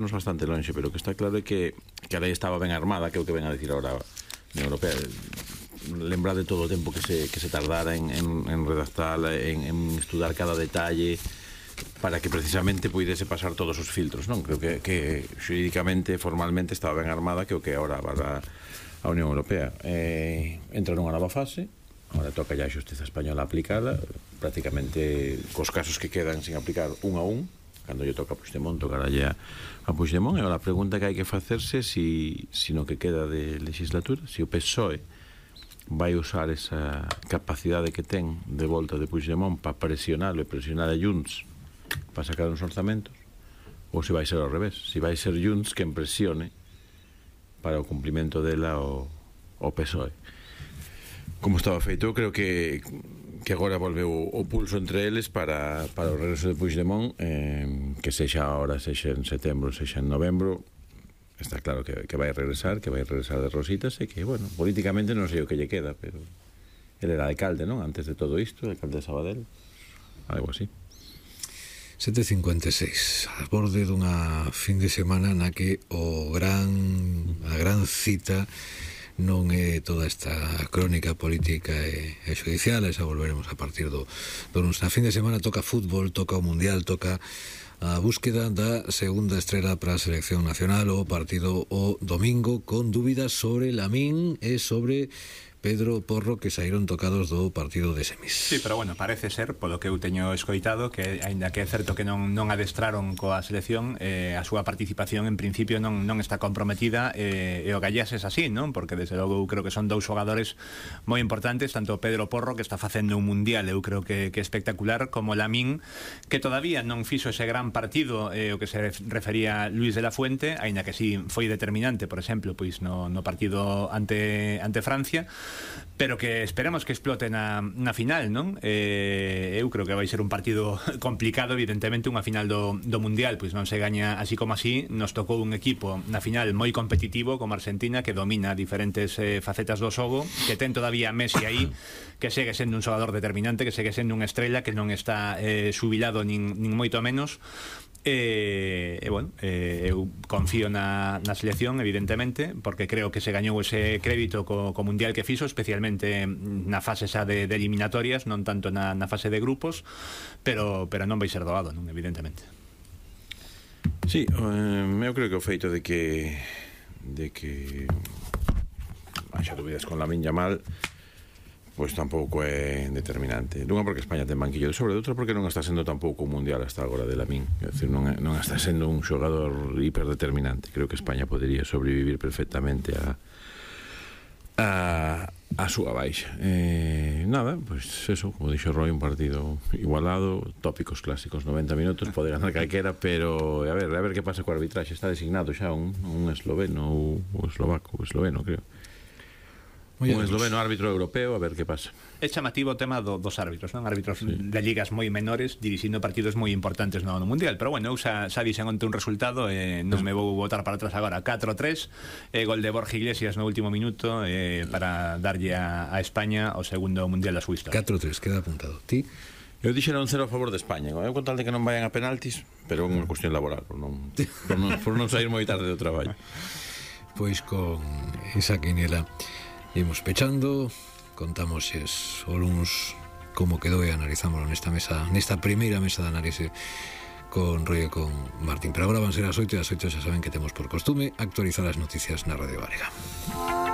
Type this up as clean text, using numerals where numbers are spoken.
nos bastante longe, pero o que está claro é que a lei estaba ben armada, que é o que ven a decir agora a Unión Europea. Lembrar de todo o tempo que se tardara en redactarla, en estudar cada detalle, para que precisamente puidese pasar todos os filtros, non? Creo que xurídicamente, formalmente estaba ben armada, que o que agora va a Unión Europea. Entra nunha nova fase, agora toca ya a xustiza española aplicada, prácticamente cos casos que quedan sin aplicar un a un, cando lle toca a Puigdemont, tocarlle a Puigdemont. E agora a pregunta que hai que facerse si no que queda de legislatura, si o PSOE vai usar esa capacidade que ten de volta de Puigdemont para presionarlo e presionar a Junts para sacar uns orzamentos, ou se vai ser ao revés, se vai ser Junts quen presione para o cumprimento dela o PSOE. Como estaba feito, eu creo que agora volveu o pulso entre eles para o regreso de Puigdemont, que sexa ahora, sexa en setembro, sexa en novembro. Está claro que vai regresar de rositas, e que, bueno, políticamente non sei o que lle queda, pero ele era alcalde, non? Antes de todo isto, alcalde de Sabadell, algo así. 7:56, a borde dunha fin de semana na que a gran cita non é toda esta crónica política e judicial, esa volveremos a partir do lunes. Na fin de semana toca fútbol, toca o Mundial, toca a búsqueda da segunda estrela para a selección nacional, o partido o domingo, con dúbidas sobre Lamín e sobre Pedro Porro, que saíron tocados do partido de semis. Sí, pero bueno, parece ser, polo que eu teño escoitado, que aínda que é certo que non adestraron coa selección, a súa participación en principio non está comprometida, e o Gallás é así, non? Porque desde logo eu creo que son dous xogadores moi importantes, tanto Pedro Porro, que está facendo un mundial, eu creo que espectacular, como Lamín, que todavía non fixo ese gran partido, o que se refería Luis de la Fuente, aínda que sí foi determinante, por exemplo, pois no partido ante Francia, pero que esperamos que explote na final, non? Eu creo que vai ser un partido complicado, evidentemente. Unha final do Mundial pois non se gaña así como así. Nos tocou un equipo na final moi competitivo como Argentina, que domina diferentes facetas do xogo, que ten todavía Messi aí, que segue sendo un xogador determinante, que segue sendo unha estrela, que non está xubilado nin moito menos. Bueno, eu confío na selección, evidentemente, porque creo que se gañou ese crédito co mundial que fixo, especialmente na fase xa de eliminatorias, non tanto na fase de grupos, pero non vai ser doado, non, evidentemente. Sí, eu creo que o feito de que haxa dúbidas con Lamín Yamal, pois tampouco é determinante. Dunha porque España ten banquillo de sobre, outra porque non está sendo tampouco un mundial hasta agora de Lamín. É dicir, non está sendo un xogador hiperdeterminante. Creo que España podería sobrevivir perfectamente a súa baixa. Nada, pois eso, como dixo Roy, un partido igualado, tópicos clásicos, 90 minutos, pode ganar calquera, pero a ver que pasa co arbitraxe. Está designado xa un esloveno ou esloveno, creo. Un esloveno árbitro europeo, a ver que pasa. É chamativo o tema dos árbitros, non? Árbitros de ligas moi menores dirixindo partidos moi importantes no Mundial, pero bueno, eu xa dixen onte un resultado, non me vou botar para atrás agora. 4-3, gol de Borja Iglesias no último minuto, para darlle a España o segundo Mundial da súa historia. 4-3, queda apuntado. Ti? Eu dixera un 0 a favor de España, eu con tal de que non vayan a penaltis, pero é unha cuestión laboral, por non sair moi tarde do traballo. Pois con esa quiniela imos pechando, contamos o luns como quedou e analizámoslo nesta primeira mesa de análise con Roy e con Martín. Pero agora van ser as 8, e as 8 xa saben que temos por costume actualizar as noticias na Radio Galega.